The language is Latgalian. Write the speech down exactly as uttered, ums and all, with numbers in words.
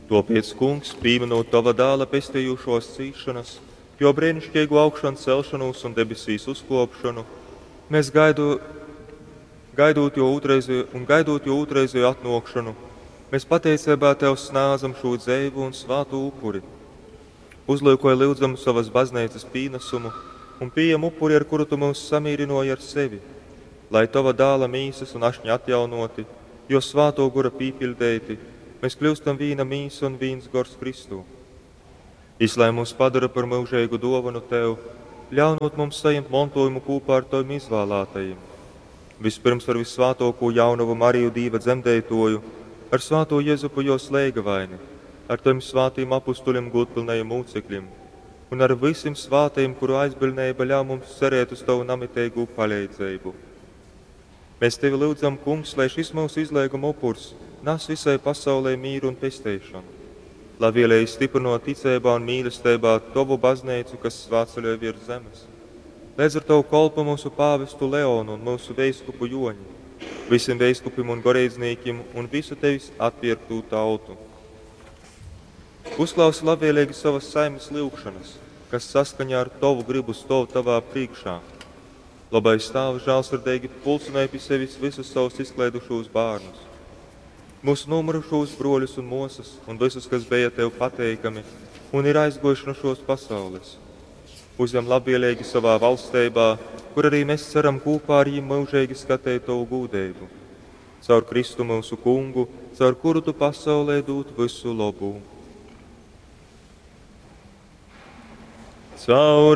Tōpēc, Kungs, pīminūt Tova dāla pestejušōs cīsšonas, jō breiniškeigū augšancelšonūs un debesīs uzkōpšonu, mēs gaidu, gaidūt jō ūtrreizeju un gaidūt jō ūtrreizeju atnōkšonu, mēs pateiceibā Tev snādzam šū dzeivu un svātū upuri. Uzlyukoj lyudzam sovas bazneicas pīnasumu un pījem upuri, ar kuru Tu myus samīrynōji ar sevi, lai Tova dāla mīsas un ašņa atjaunōti, jō svātō gora pīpiļdeiti, mēs kļyustam vīna mīsa un vīns gors Kristū. Jys lai mūs padara par myužeigu dōvonu Tev, ļaunūt mums sajimt montōjumu kūpā ar Tovim izvālātajim. Vispyrms ar vissvātōkū jaunovu Mariju Dīva dzemdeitōju, ar svātū Jezupu jōs leigavaini, ar Tovim svātajim apustuļim gūdpylnajim mūcekļim un ar vysim svātajim, kuru aizbiļdneiba ļauj mums cerēt uz Tovu namiteigū paleidzeibu. Mēs Tevi lyudzam, Kungs, lai šis myusu izleiguma upurs nas visai pasaulei mīru un pesteišonu. Labvēlīgi stiprinot ticeibā un mīlesteibā Tovu baznīcu, kas svātceļoj virs zemes. Leidz ar Tavu kolpu mūsu pāvestu Leonu un mūsu veiskupu Joņi, visiem veiskupim un goreidznīkim un visu Tevis atpierktū tautu. Uzklausi labvēlīgi savas saimes lyugšanas, kas saskaņā ar Tovu gribu stōv Tavā priekšā. Labais Tāvs žālsirdīgi pulcinēja pie sevis visus savus izklaidušos bērnus, mūsu nomurušos broļus un mosas, un visus, kas bija Tev pateikami un ir aizgojuši no šos pasaules. Uzņem labvēlīgi savā valstībā, kur arī mēs ceram kopā ar viņiem mūžīgi skatīt Tavu gūdību. Caur Kristu mūsu kungu, caur kuru Tu pasaulē dod visu labu. Caur